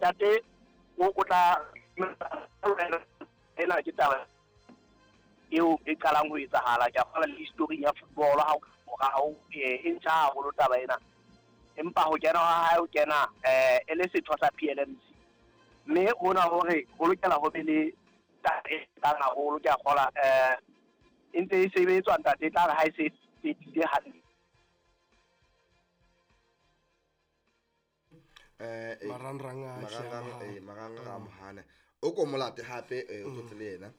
Ntate o tla ena ke taba eo e qalang ho etsahala. Ke a kgolwa le historing ya football ha morao e ntjha haholo taba ena. Empa ho kena ha hae o kena e le setho sa PLMC. Mme hona hore ho lokela ho be le taba e tlang haholo, ke a kgolwa e ntse e sebetswa ntate, e tla re ha e se fedile hantle. Marangrang a marangrang a mohana o ko molate hape o tlotse le yena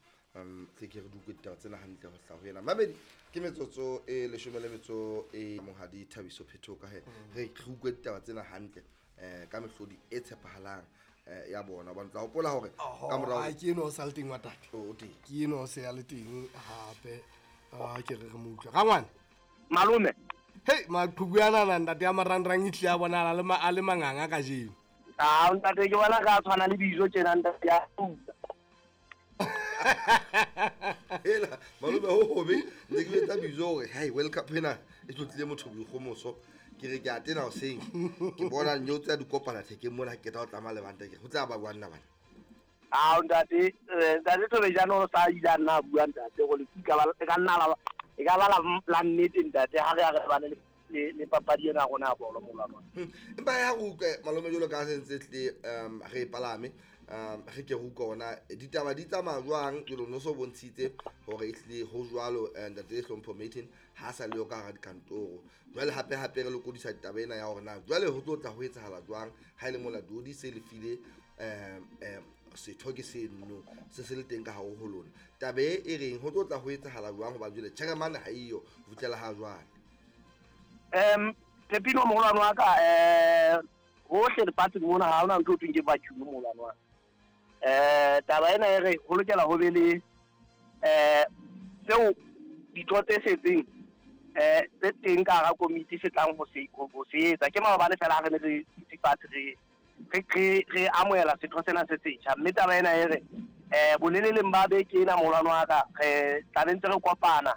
tle ke re di utlwe ditaba tsena hantle ho hlaha ho yena. Mamedi ke metsotso e 18 e monghadi Thabiso Phetho ka he re utlwe ditaba tsena hantle ka mehlodi e tshepahalang ya bona. Hobane tla hopola hore ka morao ke eno o sa le teng wa tate. O teng. Ke eno o se a le teng hape. Ke re re mo utlwe. Rangwane. Malome. Hei, maqhubu ana na ntate ya marangrang e tlile a bonahala a le manganga kajeno. Ah, ntate ke bona ka tshwana le dijo tjena ntate ya tuka. Hela, malome ho hobe, ntse ke etsa bijo hore hai World Cup ena e tlotlile motho boikgomoso. Ke re ke a tena hoseng. Ke bona nyo tsa dikopana thekeng mona ke tla o tlama lebanta ke ho tla ba bua nna bana. Ah, ntate, ntate Thobejane o sa ile a nna a bua ntate go le ka ba ka nna la e ka ba la nnete ntate ha re a re bane le papadi ena rona ya bolo molwana. Empa ya go utlwe malome jolo ka se ntse tle re palame re ke go utlwa ona ditaba di tsamaya jwang jolo no so bontshitse hore ehlile ho jwalo ntate Hlompho Martin ha sa le yo ka hara dikantoro. Jwale hape hape re lokodisa ditaba ena ya hore na jwale ho tlo tla ho etsahala jwang ha ile mola Dodi se le file setho ke seno se se le teng ka hare ho lona. Taba e reng ho tlo tla ho etsahala jwang hoba jwale chairman ha iyo ho fihlela ha jwale. Pepino moholwane wa ka hohle lefatsheng mona ha hona ntho e thweng ke vacuum moholwane wa ka. Taba ena e re ho lokela ho be le seo ditho tse setseng tse teng ka hara komiti se tlang ho se etsa. Ke maobane fela ha re ne re dutse fatshe re amohela setho sena se setjha. Mme taba ena e re boleleleng ba beke ena moholwane wa ka re tla be ntse re kopana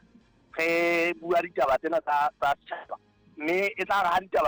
re bua ditaba tsena tsa setjhaba. Mme e tla re ha ditaba